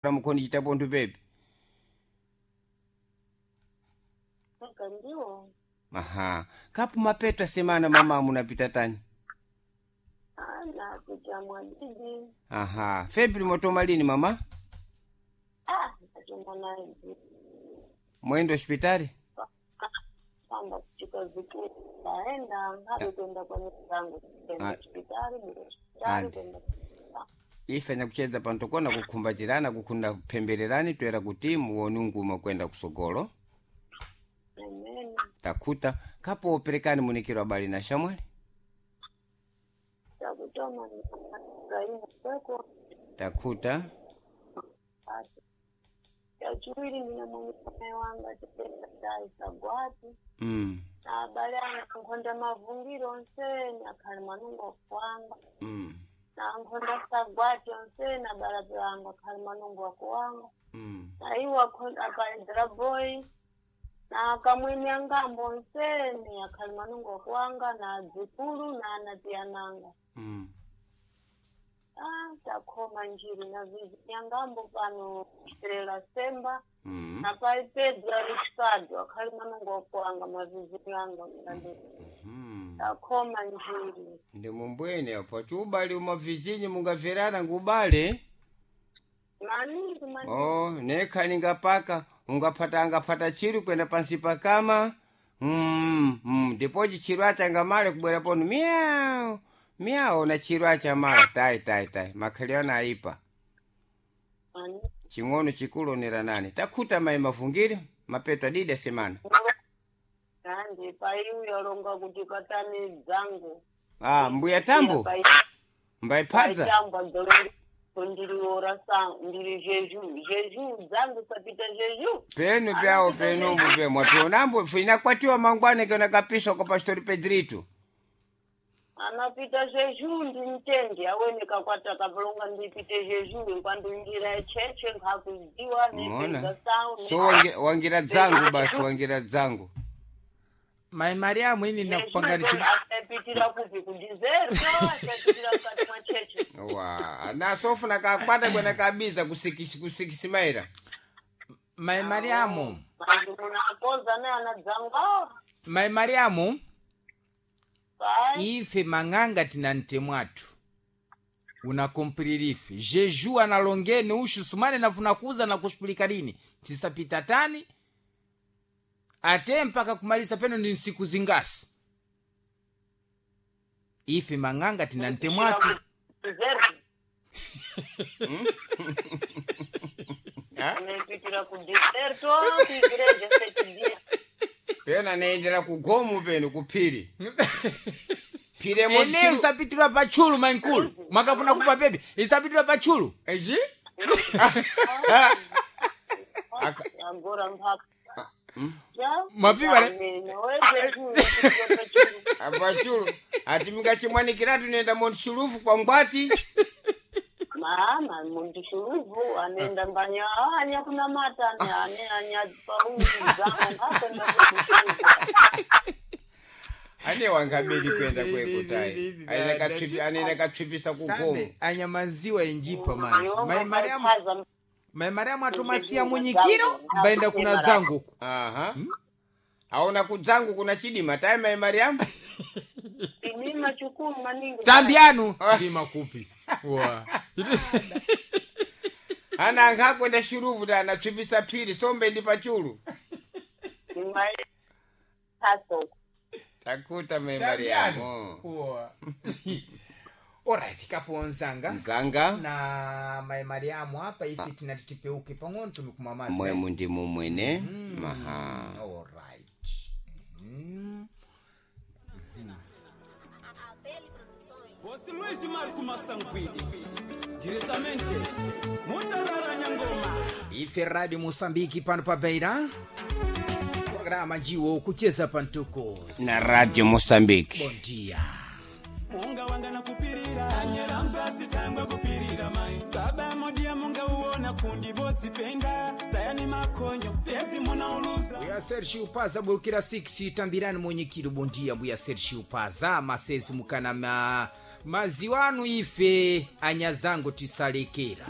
Mukhoni chitapo nthu pepe. Mpaka ndiwo. Aha, kapu mapeto asemana mama munapita tani? Ana kuja mwadidi. Aha, February mwatoma lini mama? Ah, nachomba naye Mwendo hospitali? pamba kuchika zikuru ndaenda hadi kwenda kwa nyumba yangu kwenda Ah. hospitali bila hospitali Andi. kwenda. Ifanya kucheza pantokona kukhumbatirana kukhunda kuphembererani toera kuti muone nguma kwenda kusogolo. Amen. Takhuta kapo operekani munikiro abali na shamwali. Takutoma Ibrahimu kweko. Takhuta. Chachiwiri ndine mwenye wanga chipenda chaisagwati. Na abale anga nkhonda mavungiro onsene akhali manungo akuwanga. Na nkhonda sagwati onsene abalabe anga akhali manungo akuwanga. Na iwo akaledzera boyi na kamwene angambo onsene akhali manungo akuwanga na adzukulu na anatiyananga. Ah, takhoma njiri na vizinyangambo pano kuterera semba. Na pai Pedro Ricardo akhali manungo akuwanga mavizinyanga mlandi. Takhoma njiri. Ndi mumbwene apo chiubali umavizinyi mungamverana ngubale. Maningi maningi. Oh, nekhani ngapaka ungaphata angaphata chiru kwenda pansi pakama. Ndipo chiru acha ngamale kubwera ponu miau miau na chiru acha mala tai tai tai makhaliana aipa. Maningi. Ching'ono chikulu onera nani takhuta mayi mavungire mapeto adidi asemana. Nandi pai uyalonga kuti katani dzangu. Ah, mbuya tambo mbayiphadza. Tambo ndiriora ndiri jeju jeju dzangu sapita jeju. Penu pyawo penumbu pe mwapionambo finakwatiwa mangwana kena kapiswa kwa pastori Pedrito. Anapita jeju ndi mtendi awene kakwata kapalonga ndipite jeju nkwandinjira echeche nkhakudziwa Mona. nepedza sau. So wangira dzangu basi wangira dzangu. Mai Mariamu ini nakupangani asapitira kupi kudizerto asapitira mukati mwa cheche. Wa, ana sofuna kakwata kwena kabiza kusikisi kusikisimaira. Mai Mariamu, Manje munakoza ne ana dzangu. Ah, Mai Mariamu, pai. ife mang'anga tina ntemwathu unakomprirife jeju analongeni ushu sumane nafuna kuza na kushupulika lini tisapita tani ate mpaka kumalisa peno ndi nsiku zingasi ife mang'anga tina ntemwathu. Dizerto. Ha? Anepitira kudeserto kuigreja sete dia. Pena naendera kugomu penu kuphiri. Phiri Ene emo isapitirwa patchulu mainkulu mwakafuna kupa pepe isapitirwa patchulu. Eji? Agora mpaka. Já? Mapiva, né? Apachulu. Ati mingachimwanikiratu nenda montshulufu kwa ngwati. Mama, muntu shuluvu anenda mbanya anya kuna mata ane ane anya paungu zangu ngakwenda kushuluvu. Ane wangabedi kwenda kwekutai. Aina katsvipi anena katsvipisa kugomu. Sambe anyamanziwa enjipa manje Mai Mariamu. Mariamu. Mai Mariamu atomasiya munyikiro mbaenda kuna zangu uku. Aha. Aona kudzangu kuna chidima tai mai Mariamu. Mimi chukuru maningi. Tambianu ndima kupi wa Ana angakwenda shuruvu ta anatsvipisa phiri sombe ndi pachulu. Nimai taso. Takuta mai Mariamu. Wa. Alright, kapo nzanga Nzanga. Na mai Mariamu apa ife tinati tipeuke pang'ono tumikumamazi. Mwemu ndi mumwene. Maha. Alright. Bosi Luiz Marco Massanguidi, diretamente Mutarara Nyangoma. Ife Radio Moçambique pano pa Beira. Programa jiwo kucheza pantuko. Na Radio Mozambique. Bom dia. Munga wanga na kupirira anyarambe asitangwa kupirira mai baba modia munga uona kundi botsi penda tayani makonyo pesi munauluza. Mbuya Sergio Paza bulukira 6 tambirani munyikiro. Bom dia mbuya Sergio Paza masezi mukana maziwanu ife anyazangu tisalekera.